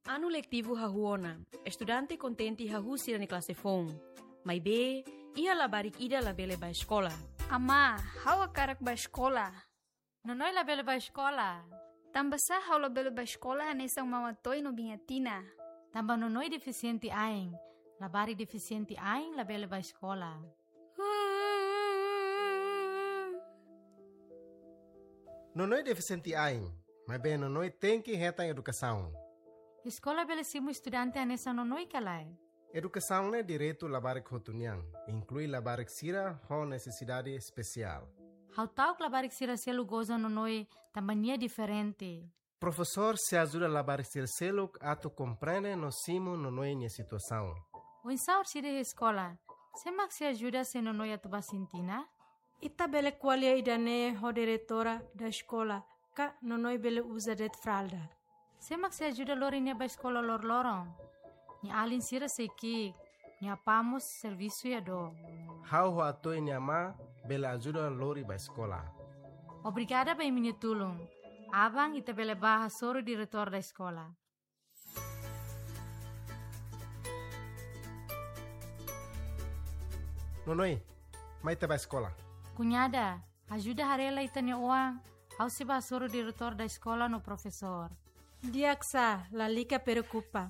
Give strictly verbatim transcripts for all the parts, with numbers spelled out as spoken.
Anu letivu hahú ona, estudante kontente hahú sira-nia klase foun. Maibé, iha labarik ida labele bá eskola. Amá, ha'u hakarak bá eskola. Nonoi labele bá eskola. Tanbasá ha'u labele bá eskola hanesan Mama Toy no Biña Tina? Tanba Nonoi defisiente ain. Labarik defisiente ain labele bá eskola. Nonoi defisiente ain, maibé Nonoi tenke hetan edukasaun. Eskola bele simu estudante hanesan Nonoi ka lae? Edukasaun ne'e direitu labarik hotu nian, inklui labarik sira ho nesesidade espesiál. Ha'u ta'uk labarik sira seluk goza Nonoi tanba nia diferente. Profesór sei ajuda labarik sira seluk atu komprende no simu Nonoi nia situasaun. Oinsá orsida iha eskola, sé mak sei ajuda se Nonoi atu bá sintina? Ita bele ko'alia ida-ne'e ho diretora da eskola, ka Nonoi bele uza de'it fralda. Sé mak sei ajuda lori nia bá eskola loroloron? Nia alin sira sei ki'ik, nia apá mós servisu iha dook. Ha'u ho Atoy nia amá bele ajuda lori bá eskola. Obrigada ba imi-nia tulun. Aban ita bele bá hasoru diretór da eskola. Nonoi, mai ita bá eskola. Kuñada, ajuda haree lai ita-nia oan, ha'u sei bá hasoru diretór da eskola no profesór. Di'ak sá, lalika preokupa.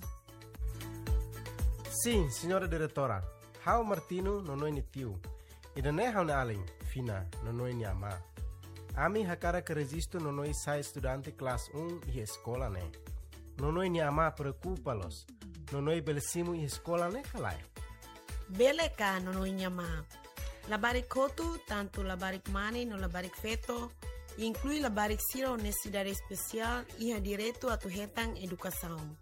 Sin, señora diretora. Ha'u Martino, Nonoi nia tiu. Ida-ne'e ha'u-nia alin, Fina, Nonoi nia amá. Ami hakarak rejistu Nonoi sai estudante klase um iha eskola ne'e. Nonoi nia amá preokupa loos. Nonoi bele simu iha eskola ne'e ka lae? Bele ka, Nonoi nia amá? Labarik hotu, tantu labarik mane no labarik feto, inklui labarik sira ho nesesidade espesiál, iha direitu atu hetan edukasaun.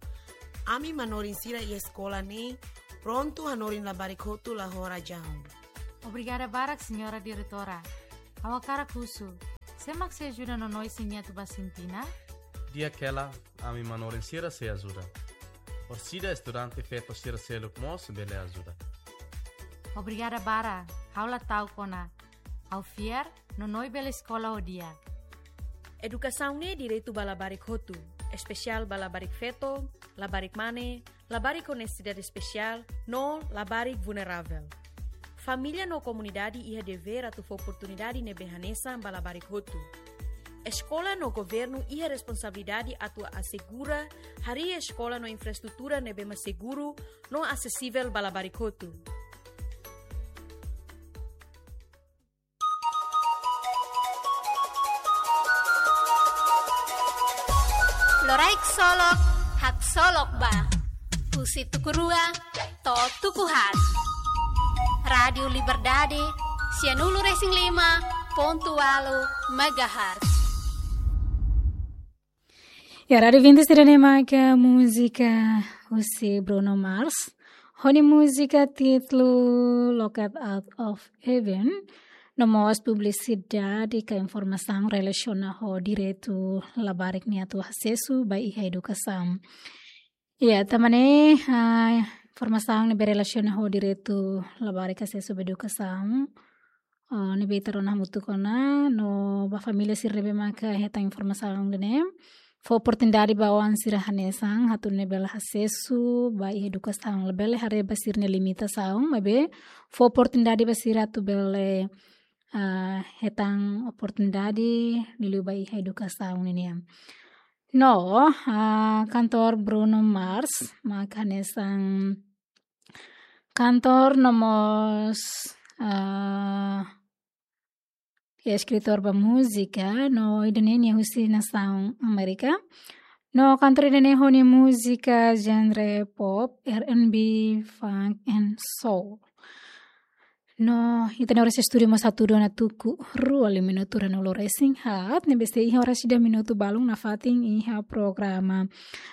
Ami manorin sira iha eskola ne'e prontu hanorin labarik hotu la ho razaun. Obrigada barak, señora diretora. Ha'u hakarak husu, sé mak sei ajuda Nonoi se nia atu bá sintina? Di'ak hela, ami manorin sira sei ajuda. Orsida estudante feto sira seluk mós bele ajuda. Obrigada barak, ha'u la ta'uk ona. Ha'u fiar, Nonoi bele eskola ho di'ak. Edukasaun ne'e direitu ba labarik hotu, espesiál ba labarik feto, labarik mane, labarik ho nesesidade espesiál, no labarik vulneravel. Família no komunidade iha devér atu fó oportunidade ne'ebé hanesan ba labarik hotu. Eskola no governu iha responsabilidade atu asegura harii eskola no infraestrutura ne'ebé mak seguru no asesivel ba labarik hotu. Loraik Solok, haksolok ba. Husi tuku rua to'o tuku haat. Rádiu Liberdade, sianulu resin lima pontu ualu megahertz. Ya, rádiu ouvinte sira, ne'e maka múzika husi Bruno Mars. Ho nia múzika títulu Locked Out of Heaven. No mós publisidade ka informasaun relasiona ho direitu labarik nia atu asesu ba iha edukasaun. Ya, tanba ne'e, ah, informasaun ne'ebé relasiona ho direitu labarik asesu ba edukasaun. Ah, ne'ebé ita rona hamutuk ona, no ba família sira ne'ebé maka hetan informasaun ida-ne'e. Fó oportunidade ba oan sira hanesan, atu nune'e bele asesu ba iha edukasaun, labele haree ba sira-nia limitasaun, maibé fó oportunidade ba sira atu bele, ah, hetan oportunidade liuliu ba iha edukasaun ninian. No, ah, kantór Bruno Mars, maka hanesan kantór no mós, ah, ya, eskritór ba múzika, no ida-ne'e nia husi nasaun Amérika. No kantór ida-ne'e ho nia múzika genre pop, R and B, funk and soul. No, ita-nia oras estúdiu mós hatudu ona tuku rua liu minutu ruanulu resin haat, ne'ebé sei iha oras ida minutu balun nafatin iha programa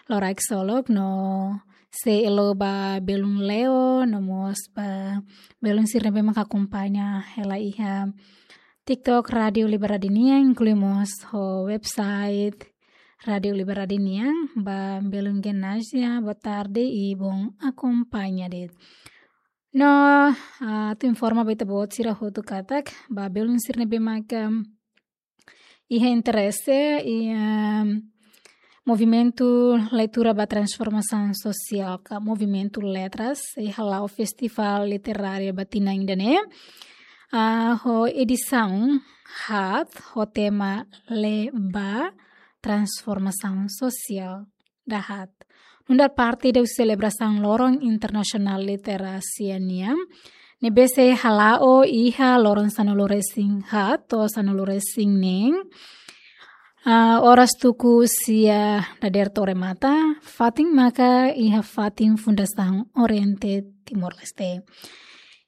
Loraik Solok, no sei halo ba belun Leo, no mós ba belun sira ne'ebé maka akompaña hela iha TikTok Rádiu Liberdade nian, inklui mós ho website Rádiu Liberdade nian, ba belun Genasia, boa tarde i bom akompaña de'it. No, ah, atu informa ba ita-boot sira hotu katak, ba belun sira ne'ebé maka iha interese, i, ehm, Movimentu Leitura ba Transformasaun Sosiál ka Movimentu Letras sei hala'o Festivál Literáriu ba tinan ida-ne'e, ah, ho edisaun haat ho tema Lee ba Transformasaun Sosiál da haat. Nu'udar parte husi selebrasaun Loron Internasionál Literasia nian, ne'ebé sei hala'o iha loron sanulu-resin-haat to'o sanulu-resin-neen, ah, oras tuku sia dadeer to'o remata, fatin maka iha fatin Fundasaun Oriente Timor-Leste.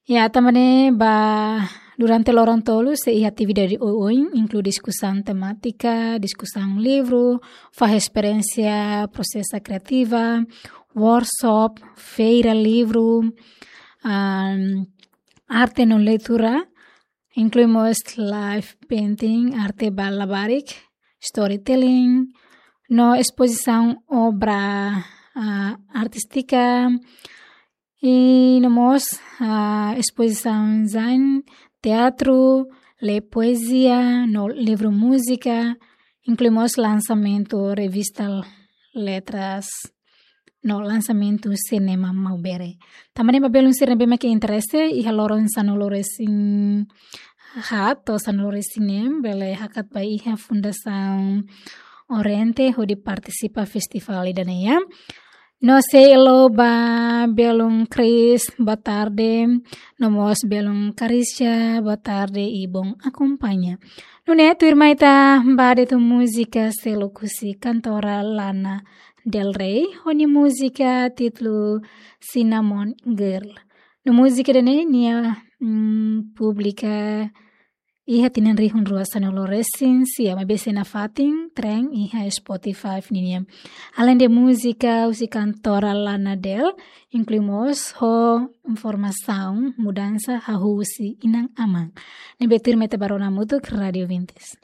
Ya, tanba ne'e ba durante loron tolu sei iha atividade oioin, inklui diskusaun temátika, diskusaun livru, fahe esperiénsia prosesu kriativa, workshop, feira livru, ah, arte no leitura, inklui mós live painting, arte ba labarik, storytelling, no espozisaun obra, ah, artístika, i no mós, ah, espozisaun design, teatru, lee poezia, no livru múzika, inklui mós lansamentu revista Letras, no lansamentu Cinema Maubere. Tanba ne'e ba belun sira ne'ebé mak interese iha loron sanulu-resin-haat to'o sanulu-resin-neen, bele hakat ba iha Fundasaun Oriente hodi partisipa festivál ida-ne'e, ya. No sei haluha ba belun Chris, boa tarde, no mós belun Carissa, boa tarde i bom acompanha. Nune'e tuirmai ita ba de'it múzika seluk husi kantora Lana Del Rey, ho nia múzika títulu Cinnamon Girl. No múzika ida-ne'e nia, mm, publika iha tinan rihun rua sanulu-resin-sia, maibé sei nafatin tren iha Spotify ninian. Alende múzika husi kantora Lana Del, inklui mós ho informasaun mudansa hahú husi inan-aman. Ne'ebé tuirmai ita ba rona hamutuk Rádio Vintes.